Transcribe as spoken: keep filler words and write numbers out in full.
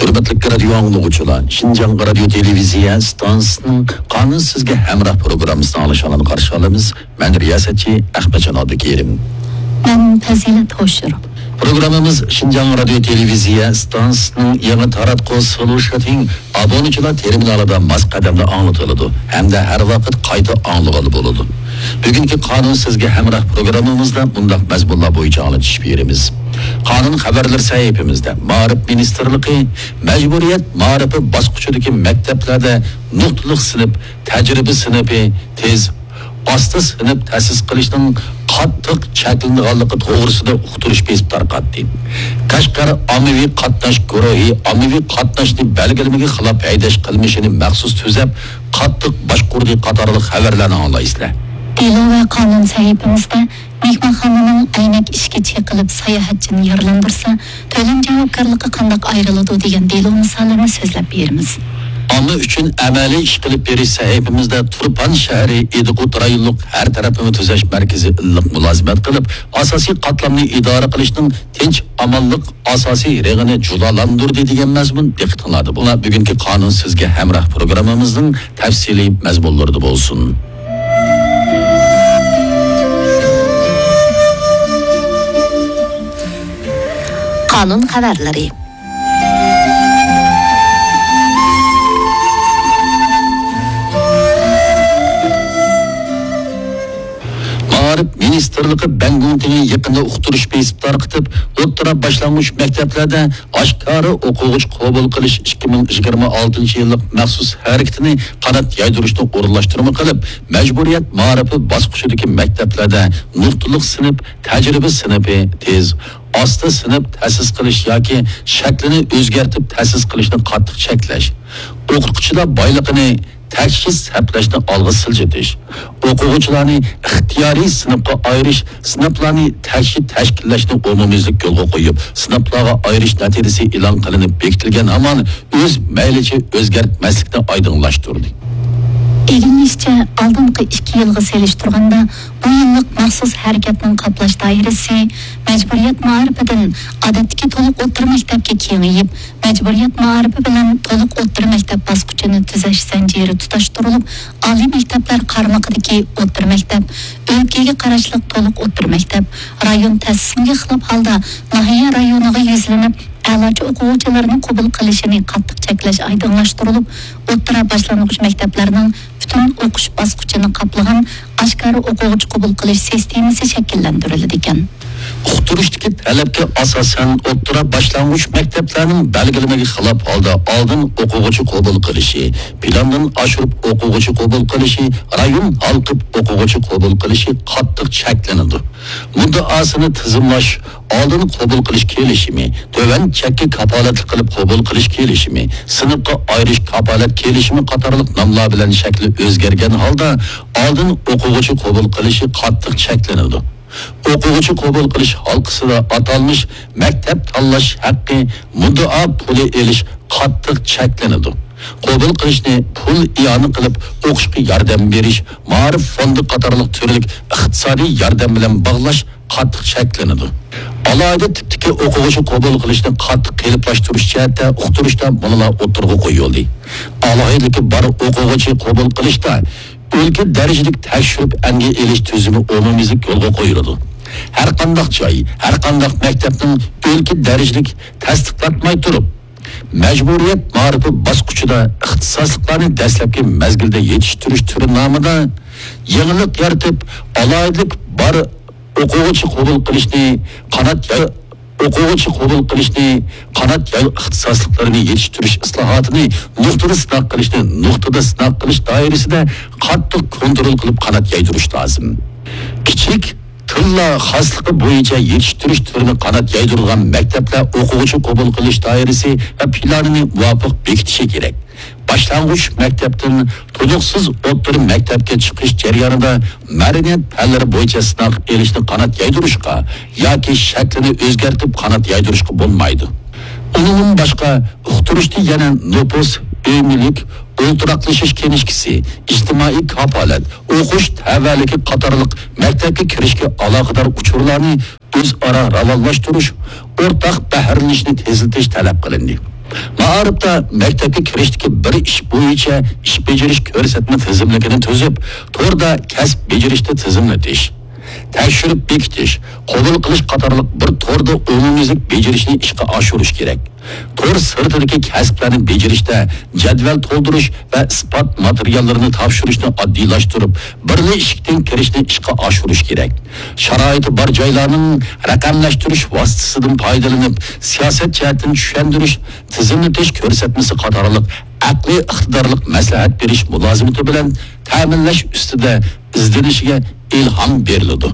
ھۆرمەتلىك رادىيو ئاڭلىغۇچىلار، شىنجاڭ رادىيو تېلېۋىزىيە ئىستانسىسىنىڭ قانۇن سىزگە ھەمراھ پروگراممىسىنى ئاڭلىشىڭلارنى قارشى ئالىمىز. مەن رىياسەتچى ئەخمەتجان ئابدۇكېرىم. مەن پەزىلەت ھوشۇر. پروگراممىمىز شىنجاڭ رادىيو تېلېۋىزىيە ئىستانسىسىنىڭ يېڭى تاراتقۇ سولۇشىتىڭ ئابۇنىچىلار تېرمىنالىدا ماس قەدەمدە ئاڭلىتىلىدۇ ھەمدە ھەر ۋاقىت قايتا ئاڭلىغىلى بولىدۇ. بۈگۈنكى قانۇن سىزگە ھەمراھ پروگراممىمىزدا مۇنداق مەزمۇنلار بويىچە ئاڭلىتىش بېرىمىز. قانۇن خەۋەرلىرى سەھىپىمىزدە مائارىپ مىنىستىرلىقى مەجبۇرىيەت مائارىپى باسقۇچىدىكى مەكتەپلەردە نۇقتىلىق سىنىپ، تەجرىبە سىنىپى، تېز، ئاستا سىنىپ تەسىس قىلىشنىڭ قاتتىق چەكلىنىدىغانلىقى توغرىسىدا ئۇقتۇرۇش بېسىپ تارقاتتى. قەشقەر ئاممىۋى قاتناش گۇرۇھى ئاممىۋى قاتناشنى بەلگىلىمىگە خىلاپ ھەيدەش قىلمىشىنى مەخسۇس تۈزەپ، قاتتىق باشقۇردى قاتارلىق خەۋەرلەرنى ئاڭلايسىلەر. دېلو ۋە قانۇن سەھىپىمىزدە مېھمانخانىنىڭ ئەينەك ئىشىكى چېقىلىپ ساياھەتچىنى يارىلاندۇرسا، تۆلەم جاۋابكارلىقى قانداق ئايرىلىدۇ دېگەن دېلو مىسالىنى سۆزلەپ بېرىمىز. ئامما ئۈچۈن ئەمەلىي ئىش قىلىپ بېرىش سەھىپىمىزدە تۇرپان شەھىرى ئىدىقۇت رايونلۇق ھەر تەرەپلىمە تۈزەش مەركىزى ئىللىق مۇلازىمەت قىلىپ، ئاساسىي قاتلامنى ئىدارە قىلىشنىڭ تىنچ ئامانلىق ئاساسىي رېڭىنى جۇلالاندۇردى دېگەن مەزمۇن دىققىتىڭلاردا بولار. بۈگۈنكى قانۇن سىزگە ھەمراھ پروگراممىمىزنىڭ تەپسىلىي مەزمۇنلىرىدا بولسۇن. قانۇن خەۋەرلىرى. مائارىپ مىنىستىرلىقى بەنگۇڭتىڭى يېقىندا ئۇقتۇرۇش بېسىپ تارقىتىپ، ئوتتۇرا باشلانغۇچ مەكتەپلەردە ئاشكارا ئوقۇغۇچى قوبۇل قىلىش ئىككى مىڭ يىگىرمە ئالتىنچى يىللىق مەخسۇس ھەرىكىتىنى قانات يايدۇرۇشنى ئورۇنلاشتۇرما قىلىپ، مەجبۇرىيەت مائارىپى باسقۇچىدىكى مەكتەپلەردە نۇقتىلىق سىنىپ، تەجرىبە سىنىپى، تېز، ئاستا سىنىپ تەسىس قىلىش ياكى شەكلىنى ئۆزگەرتىپ تەسىس قىلىشنى قاتتىق چەكلەش، ئوقۇتقۇچىلار بايلىقىنى تەكشى سەپلەشنى ئالغا سىلجىتىش، ئوقۇغۇچىلارنى ئىختىيارىي سىنىپقا ئايرىش، سىنىپلارنى تەكشى تەشكىللەشنى ئومۇميۈزلۈك يولغا قويۇپ، سىنىپلارغا ئايرىش نەتىجىسى ئېلان قىلىنىپ بېكىتىلگەن ھامان ئۆز مەيلىچە ئۆزگەرتمەسلىكنى ئايدىڭلاشتۇردى. ئىگىلىنىشىچە، ئالدىنقى ئىككى يىلغا سېلىشتۇرغاندا، بۇ يىللىق مەخسۇس ھەرىكەتنىڭ قاپلاش دائىرىسى مەجبۇرىيەت مائارىپىدىن ئادەتتىكى تولۇق ئوتتۇرا مەكتەپكە كېڭىيىپ، مەجبۇرىيەت مائارىپى بىلەن تولۇق ئوتتۇرا مەكتەپ باسقۇچىنى تۈزەش زەنجىرى تۇتاشتۇرۇلۇپ، ئالىي مەكتەپلەر قارمىقىدىكى ئوتتۇرا مەكتەپ، ئۆلكىگە قاراشلىق تولۇق ئوتتۇرا مەكتەپ، رايون تەسىسىمىگە خىلاپ ھالدا ناھىيە رايونىغا يۈزلىنىپ، ئەلاچە ئوقۇغۇچىلارنى قوبۇل قىلىشىنى قاتتىق چەكلەش ئايدىڭلاشتۇرۇلۇپ، ئوتتۇرا باشلانغۇچ مەكتەپلەرنىڭ پۈتۈن ئوقۇش باسقۇچىنى قاپلىغان ئاشكارا ئوقۇغۇچى قوبۇل قىلىش سىستېمىسى شەكىللەندۈرۈلىدىكەن. ئۇقتۇرۇشتىكى تەلەپكە ئاساسەن، ئوتتۇرا باشلانغۇچ مەكتەپلەرنىڭ بەلگىلىمىگە خىلاپ ھالدا ئالدىن ئوقۇغۇچى قوبۇل قىلىشى، پىلاندىن ئاشۇرۇپ ئوقۇغۇچى قوبۇل قىلىشى، رايون ھالقىپ ئوقۇغۇچى قوبۇل قىلىشى قاتتىق چەكلىنىدۇ. مۇددىئاسىنى تىزىملاش، ئالدىن قوبۇل قىلىش كېلىشىمى، تۆۋەن چەككە كاپالەتلىك قىلىپ قوبۇل قىلىش كېلىشىمى، سىنىپقا ئايرىش كاپالەت كېلىشىمى قاتارلىق ناملار بىلەن شەكلى ئۆزگەرگەن ھالدا ئالدىن ئوقۇغۇچى قوبۇل قىلىشى قاتتىق چەكلىنىدۇ. ئوقۇغۇچى قوبۇل قىلىش ھالقىسىدا ئاتالمىش مەكتەپ تاللاش ھەققى، مۇددىئا پۇلى ئېلىش قاتتىق چەكلىنىدۇ. قوبۇل قىلىشنى پۇل ئىئانە قىلىپ ئوقۇشقا ياردەم بېرىش، مائارىپ فوندى قاتارلىق تۈرلۈك ئىقتىسادىي ياردەم بىلەن باغلاش قاتتىق چەكلىنىدۇ. ئالاھىدە تىپتىكى ئوقۇغۇچى قوبۇل قىلىشنى قاتتىق قېلىپلاشتۇرۇش جەھەتتە ئۇقتۇرۇشتا مۇنۇلار ئوتتۇرىغا قويۇلدى. ئالاھىدىلىكى بار ئوقۇغۇچى قوبۇل قىلىشتا ئۆلكە دەرىجىلىك تەكشۈرۈپ ئەنگە ئېلىش تۈزۈمى ئومۇميۈزلۈك يولغا قويۇلىدۇ. ھەرقانداق جاي، ھەرقانداق مەكتەپنىڭ ئۆلكە دەرىجىلىك تەستىقلاتماي تۇرۇپ، مەجبۇرىيەت مائارىپى باسقۇچىدا ئىختىساسلىقلارنى دەسلەپكى مەزگىلدە يېتىشتۈرۈش تۈرى نامىدا يېڭىلىق يارىتىپ، ئالاھىدىلىك بار ئوقۇغۇچى قوبۇل قىلىشنى قانات ياي-، ئوقۇغۇچى قوبۇل قىلىشنى قانات يايغۇ ئىختىساسلىقلىرىنى يېتىشتۈرۈش ئىسلاھاتىنى نۇقتىدا سىناق قىلىشنى نۇقتىدا سىناق قىلىش دائىرىسىدە قاتتىق كونترول قىلىپ قانات يايدۇرۇش لازىم. كىچىك تىللا خاسلىقى بويىچە يېتىشتۈرۈش تۈرىنى قانات يايدۇرىدىغان مەكتەپلەر ئوقۇغۇچى قوبۇل قىلىش دائىرىسى ۋە پىلانىنى مۇۋاپىق بېكىتىشى كېرەك. باشلانغۇچ مەكتەپتىن تولۇقسىز ئوتتۇرا مەكتەپكە چىقىش جەريانىدا مەدەنىيەت پەنلىرى بويىچە سىناق ئېلىشنى قانات يايدۇرۇشقا ياكى شەكلىنى ئۆزگەرتىپ قانات يايدۇرۇشقا بولمايدۇ. ئۇنىڭدىن باشقا، ئۇقتۇرۇشتا يەنە نوپۇس، ئۆي مۈلۈك، ئولتۇراقلىشىش كىنىشكىسى، ئىجتىمائىي كاپالەت، ئوقۇش تەۋەلىكى قاتارلىق مەكتەپكە كىرىشكە ئالاقىدار ئۇچۇرلارنى ئۆزئارا راۋانلاشتۇرۇش، ئورتاق بەھرىلىنىشنى تېزلىتىش تەلەپ قىلىندى. مائارىپتا مەكتەپكە كىرىشتىكى بىر ئىش بويىچە ئىش بېجىرىش كۆرسەتمە تىزىملىكىنى تۈزۈپ، توردا كەسىپ بېجىرىشنى تىزىملىتىش، تەكشۈرۈپ بېكىتىش، قوبۇل قىلىش قاتارلىق بىر توردا ئومۇميۈزلۈك بېجىرىشنى ئىشقا ئاشۇرۇش كېرەك. تور سىرتىدىكى كەسىپلەرنى بېجىرىشتە جەدۋەل تولدۇرۇش ۋە ئىسپات ماتېرىياللىرىنى تاپشۇرۇشنى ئاددىيلاشتۇرۇپ، بىرلا ئىشىكتىن كىرىشنى ئىشقا ئاشۇرۇش كېرەك. شارائىتى بار جايلارنىڭ رەقەملەشتۈرۈش ۋاسىتىسىدىن پايدىلىنىپ، سىياسەت جەھەتتىن چۈشەندۈرۈش، تىزىملىتىش كۆرسەتمىسى قاتارلىق ئەقلىي ئىقتىدارلىق مەسلىھەت بېرىش مۇلازىمىتى بىلەن تەمىنلەش ئۈستىدە ئىزدىنىشىگە ئىلھام بېرىلىدۇ.